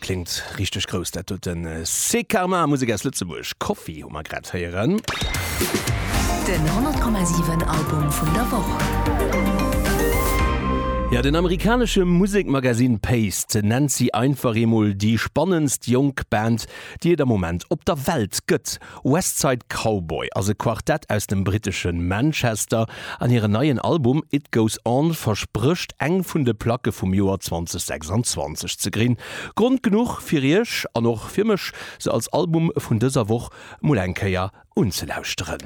Kléngt richteg grouss dat doten. C'est Karma, Musek aus Lëtzebuerg. Coffee hu mer grad héieren. Den 100,7 Album vun der Woch. Jo, den amerikanesche Musekmagazin Paste nennt si einfach eemol déi spannendst jonk Band, déi et am Moment op der Welt gëtt. Westside Cowboy ass e Quartett aus dem brittesche Manchester an hiren neien Album It Goes On versprécht eng vun de Placke vum Joer 2026 ze grinn. Grond genuch fir iech an och fir mech se als Album vun dëser Woch mol eng Kéier unzelauschteren.